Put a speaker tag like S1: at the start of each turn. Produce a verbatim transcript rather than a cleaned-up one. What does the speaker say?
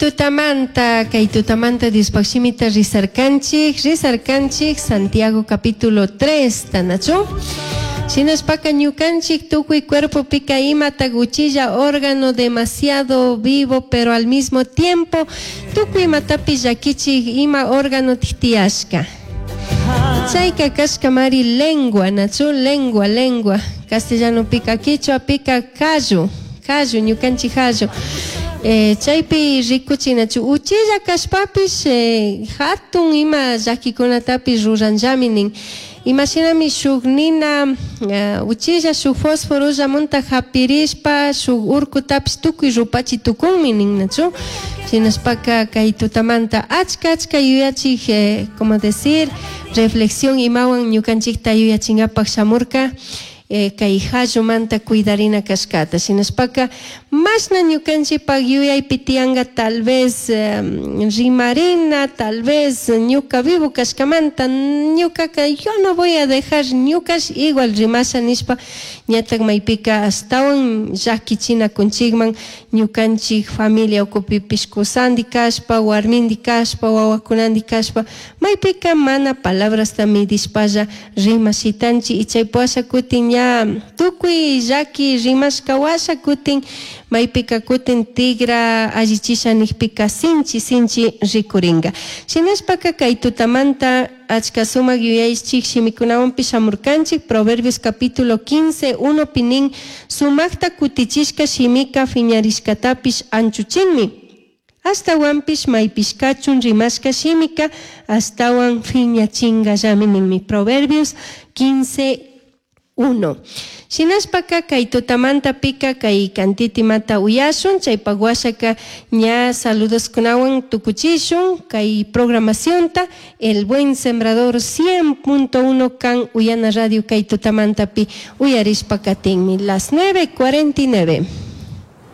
S1: Tutamanta, kay tutamanta Diospaj shimita rizarkanchik, rizarkanchik Santiago capítulo tres, tanachu? Shinashpaka ñukanchik tukuy cuerpopika imata uchilla órgano demasiado vivo, pero al mismo tiempo tukuy imatapish llakichik ima órgano tiyashka. Chayka kashkamari lengua, nachu? Lengua, lengua. Castellano pika quichua pika kallu, kallu, ñukanchik kallu. Eh, chaypi rikuchinachu uchilla kashpapish eh, hatun ima llakikunatapish ruranllami nin. Imashinami shuk nina uh, uchilla shuk fósforollamunta hapirishpa shuk urkutapish tukuy rupachi tukunmi nin, nachu? Shinashpaka kay tutamanta achka achka yuyachik eh, como decir reflexión imawan ñukanchikta yuyachingapak shamurka eh, kay hallumanta cuidarina kashkata. Shinashpaka mashna ñukanchikpak yuyaypi tiyanga tal vez eh, rimarina, tal vez ñuka vivo kashkamanta ñukaka yo no voy a dejar ñukash igual rimasha nishpa ñatak maypika ashtawan llakichina kunchikman ñukanchik familia ukupipish kusandi kashpa, warmindi kashpa, wawakunandi kashpa maypika mana palabrasta midishpalla rimashitanchik y chaypi kutin ña tukuy llaki rimashka washa kutin maypika kutin tigra allichisha nijpika sinchi sinchi rikuringa. Shinashpaka kay tutamanta achka sumak yuyaychik shimikunawanpish shamurkanchik Proverbios capítulo quince, uno pinin sumakta kutichishka shimika fiñarishkatapish anchuchinmi. Ashtawanpish maypishkachun rimashka shimika ashtawan fiñachingallami ninmi. Proverbios quince, uno. Shinashpaka kay tutamanta pika kay kantitimata uyashun, chaypak washaka ña saludoskunawan tukuchishun kay programacionta El Buen Sembrador cien punto uno kan Uyana Radio kay tutamantapi uyarishpa katinmi. Las nueve cuarenta y nueve.